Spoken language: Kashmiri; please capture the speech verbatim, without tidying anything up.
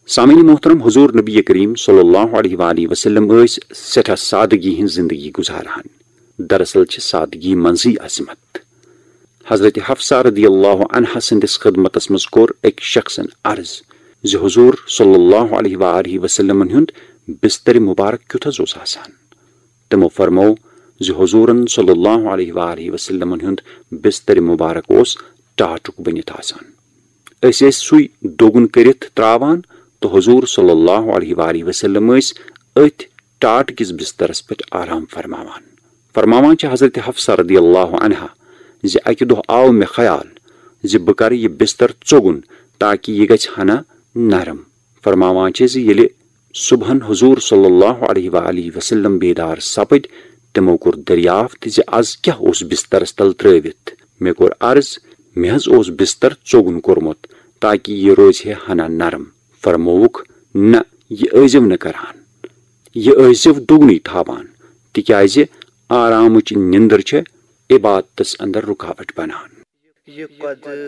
سامعین محترم، حضور نبی کریم صلی اللہ علیہ وآلہ وسلم ٲسۍ سٮ۪ٹھاہ سادگی ہٕنٛز زندگی گُزاران۔ دراصل چھِ سادگی منٛزٕے عظمت۔ حضرت حفصہ رضی اللہ عنہا سٕنٛدِس خدمتس منٛز کوٚر أکۍ شخصن عرض زِ حضور صلی اللہ علیہ وآلہ وسلمن ہُنٛد بستر مبارک کیُتھ حظ اوس آسان؟ تِمو فرموو زِ حضورن صلی اللہ علیہ وآلہ وسلمن ہُنٛد بستر مبارک اوس ٹاٹُک بٔنِتھ آسان۔ أسۍ ٲسۍ سُے دوٚگُن کٔرِتھ تراوان تہٕ حضور صلی اللہ علیہ وآلہ وسلم ٲسۍ أتھۍ ٹاٹھ کِس بسترس پٮ۪ٹھ آرام فرماوان۔ فرماوان چھِ حضرت حفصہ رضی اللہ عنہا زِ اکہِ دۄہ آو مےٚ خیال زِ بہٕ کرٕ یہِ بستر ژوٚگُن تاکہِ یہِ گژھِ ہنا نرم۔ فرماوان چھِ زِ ییٚلہِ صبحن حضور صلی اللہ علیہ وآلہ وسلم بیدار سپٕدۍ، تِمو کوٚر دریافت زِ از کیاہ اوس بسترس تل ترٲوِتھ۔ مےٚ کوٚر عرض، مےٚ حظ اوس بستر ژوٚگُن کوٚرمُت تاکہِ یہِ روزِ ہے ہنا نرم۔ فرمووُکھ، نہ، یہِ ٲسۍزیو نہٕ کران، یہِ ٲسۍزیو دوٚگنُے تھاوان، تِکیازِ آرامٕچ نِندٕر چھےٚ عبادتس اندر رُکاوٹ بنان۔